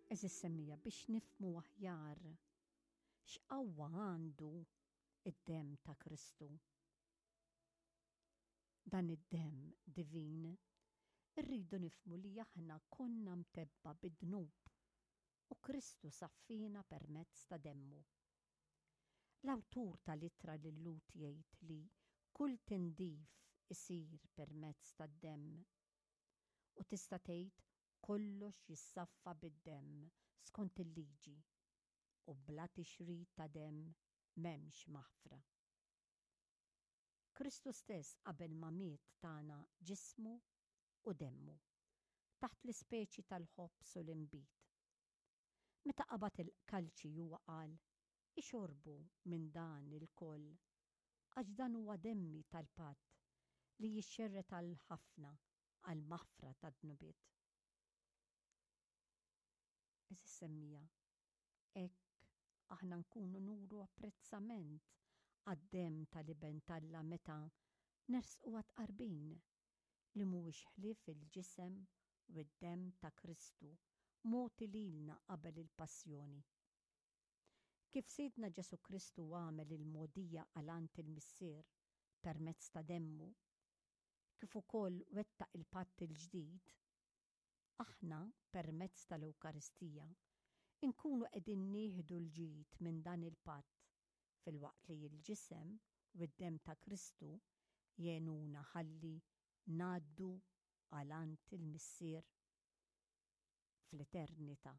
Għeżież semmiegħa biex nifhmu aħjar x'qawwa għandu d-demm ta' Kristu. Dan id-demm divin, irridu nifhmu li aħna konna mtebba' bid-dnub u Kristu saffiena permezz ta' demmu. L-awtur tal-ittra lil-Lhud jgħid li kull tindif isir permezz tad-demm. U tista' tgħid kollox jissaffa bid-demm skont il-liġi u bla tixrid ta' demm m'hemmx maħfra. Kristu stess qabel ma miet tana ġismu u demmu, taħt l-ispeċi tal-ħobż u l-inbid. Meta qabad il-kalċi huwa qal, Ixorbu minn dan ilkoll, għax dan huwa demmi tal-patt li jixxerred għal ħafna għall-maħfra tad-dnubiet. Għeżież semmiegħa, hekk aħna nkunu nuru apprezzament għad-demm tal-Iben t'Alla meta nersqu għat-tqarbin, li mhuwiex ħlief il-ġisem u d-demm ta' Kristu mogħti lilna qabel il-passjoni. Kif Sidna Ġesù Kristu għamel il-mogħdija għal għand il-Missier permezz ta' demmu, kif ukoll wettaq il-patt il-ġdid, aħna, permezz tal-Ewkaristija, inkunu qegħdin nieħdu l-ġid minn dan il-patt filwaqt li l-ġisem u d-demm ta' Kristu jgħinuna ħalli ngħaddu għal għand il-Missier fl-eternità.